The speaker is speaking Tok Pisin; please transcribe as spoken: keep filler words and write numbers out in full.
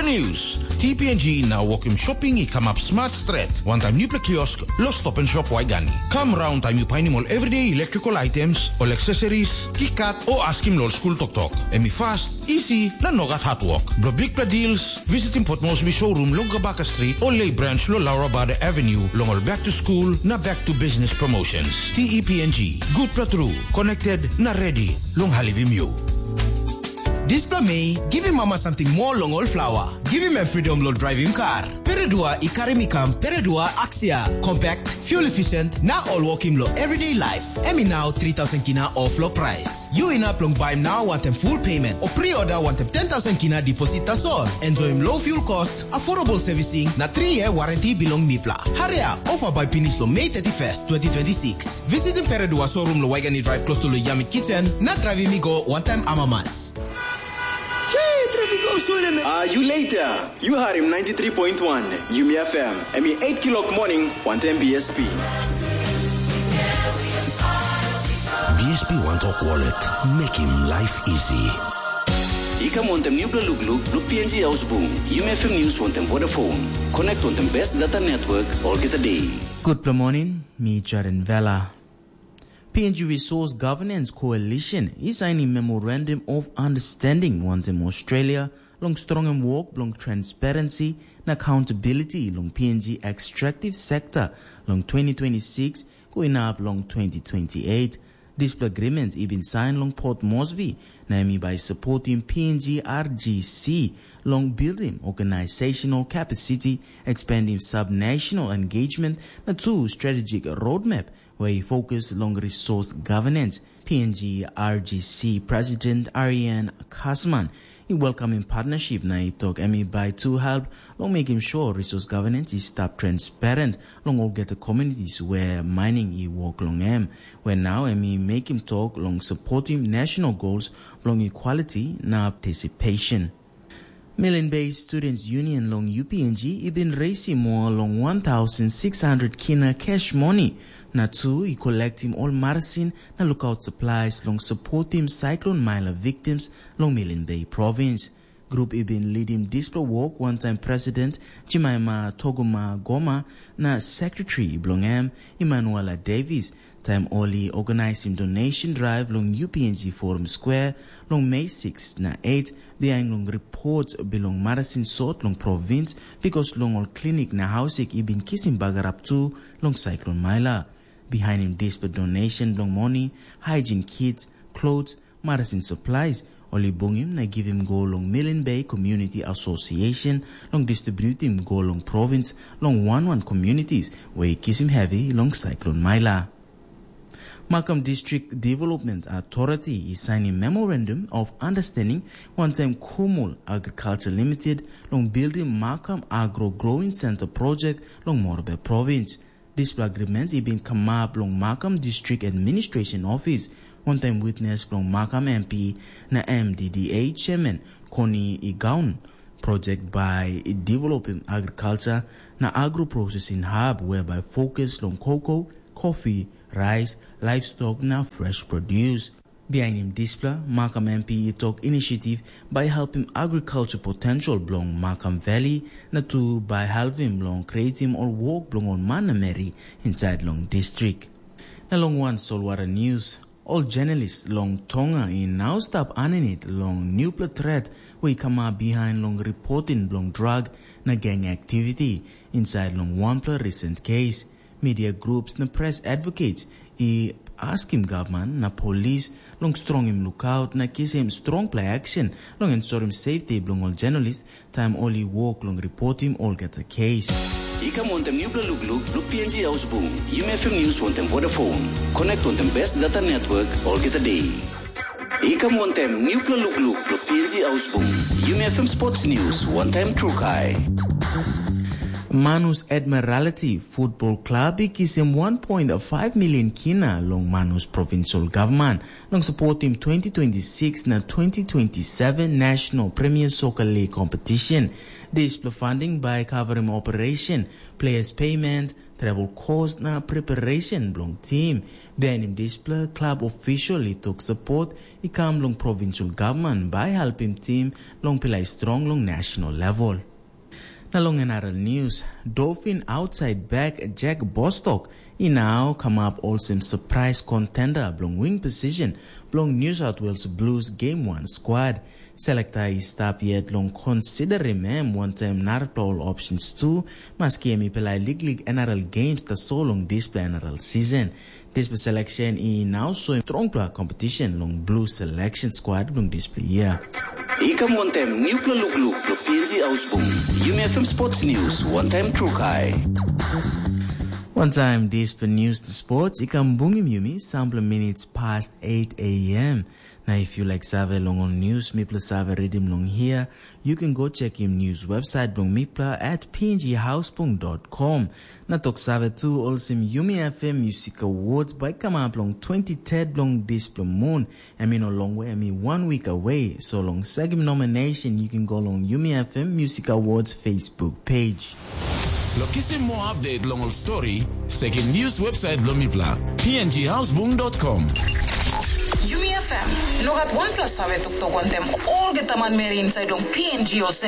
News, T P N G na wokim shopping i kamap smart stret, wantaim nupla kiosk lo Stop and Shop Waigani. Kam raun taim yu painim ol everyday electrical items, ol accessories, kikat o askim lo ol skul toktok. Em i fast, easy na nogat hard work. Blo bigpela deals, visitim Port Moresby showroom long Gabaka Street o Lay Branch lo Laura Bader Avenue long ol back to school na back to business promotions. T E P N G, gutpela tru, connected na ready long halivim yu. Dispela mei, givim mama samting moa long ol flawa. Givim em fridom long draivim kar. Peredua i karim i kam Peredua Aksia, compact, fuel efficient, na ol wokim long everyday life. Em i nau three thousand kina off lo price. Yu inap long baim nau wantaim full payment o pre-order wantaim ten thousand kina deposit tasol. Enjoyim low fuel cost, affordable servicing, na three year warranty bilong mipla. Hurry up, offer bai pinis long May thirty-first, twenty twenty-six. Visitim Peredua showroom lo Waigani Drive close to lo Yamit Kitchen, na draivim i go wantaim amamas. Hey, traffic go swole me. Ah, you later. You harim ninety-three point one Yumi F M. Em i eight kilok morning, wantaim B S P. B S P One Talk Wallet. Making life easy. I kam wantaim nupela lukluk blo P N G Ausbung, Yumi F M News wantaim Vodafone. Connect wantaim best data network olgeta day. Gutpela morning, mi Jaren Vela. P N G Resource Governance Coalition i sainim Memorandum of Understanding wantaim Australia long strongim wok bilong transparency na accountability long P N G extractive sector long twenty twenty-six go inap long twenty twenty-eight. Dispela agreement i bin sain long Port Moresby, na em i bai supportim P N G R G C long building organizational capacity, expanding subnational engagement, na tu strategic roadmap where i focus long resource governance. P N G R G C President Ariane Kasman i welcoming partnership na i tok em i bai tu help long making sure resource governance i stap transparent long olgeta communities where mining i work long em, where now em i making talk long supporting national goals long equality na participation. Milne Bay Students Union long U P N G i bin reisim moa long one thousand six hundred kina cash money, na tu i kolektim ol marasin na lukaut supplies long supportim Cyclone Maila victims long Milne Bay Province. Grup i bin lidim dispela wok wantaim President Jemima Toguma Goma na Sekretari bilong em, Emmanuela Davis, taim ol i organisim donation drive long U P N G Forum Square long Mei six na eight, bihain long ripot bilong marasin sot long provins, bikos long ol klinik na hausik i bin kisim bagarap tu long Cyclone Maila. Bihainim dispela donation bilong moni, hygiene kits, clothes, marasin supplies, ol i bungim na givim go long Milne Bay Community Association long distributim go long provins long wan wan communities we i kisim hevi long Cyclone Maila. Makam District Development Authority i sainim Memorandum of Understanding wantaim Kumul Agriculture Limited long bildim Makam Agro Growing Center project long Morobe Province. Dispela agreement i bin kamap long Makam District Administration Office, wantaim witness bilong Makam M P na M D D A Chairman Koni Igaun. Project bai i developim agriculture na agro processing hub, whereby focus long cocoa, coffee, rice, livestock na fresh produce. Bihainim dispela, Makam M P i tok initiative bai helpim agriculture potential bilong Makam Valley, na tu bai helpim long creatim ol wok bilong ol man na meri inside long distrik. Na long wan solwara news, ol journalist long Tonga i nau stap aninit long newpela threat we i kamap bihain long reporting bilong drug na gang activity inside long wanpela recent case. Media groups na press advocates i askim gavman na polis long strongim lukaut na kisim strongpela action long ensurim safety bilong ol journalist taim ol i wok long reportim olgeta kes. I kam wantaim nupela lukluk bilong P N G Ausbung, Yumi F M News wantaim Vodafone. Connect wantaim best data network olgeta day. I kam wantaim nupela lukluk bilong P N G Ausbung, Yumi F M Sports News wantaim Trukai. Manus Admiralty Football Club i kisim one point five million kina long Manus Provincial Government long supportim twenty twenty-six na twenty twenty-seven National Premier Soccer League competition. Dispela funding bai covering operation, players payment, travel cost na preparation bilong tim. Bihainim dispela, klab official i tok support i kam long provincial government bai helpim tim long pilai strong long national level. Na long another news, Dolphin outside back Jack Bostock i now come up olsem surprise contender bilong wing position bilong New South Wales Blues Game one squad. Selekta i stap yet long considerim em wantaim narapela ol options tu, maski em i pilai liklik N R L games tasol long dispela N R L season. Dispela selection i now soim strongpela competition long Blue selection squad bilong dispela year. I kam wantaim newpela lukluk lo P N G Ausbung. Yumi F M Sports News, one time true kai. One time dispela news to sports, i kam bungim yumi sampela minutes past eight a.m. Na if you like save long ol news mipela save redim long here, you can go check him news website bilong mipela at pnghausbung.com. Na tok save tu olsem Yumi F M Music Awards bai kamap long twenty-third bilong dispela moon. Em i no long we, em i one week away. So long second nomination, you can go long Yumi F M Music Awards Facebook page. Lo kisim moa update long ol story, sekim news website bilong mipela, pnghausbung.com. Yumi F M, no gat wanpela save toktok wantem olgeta manmeri inside long P N G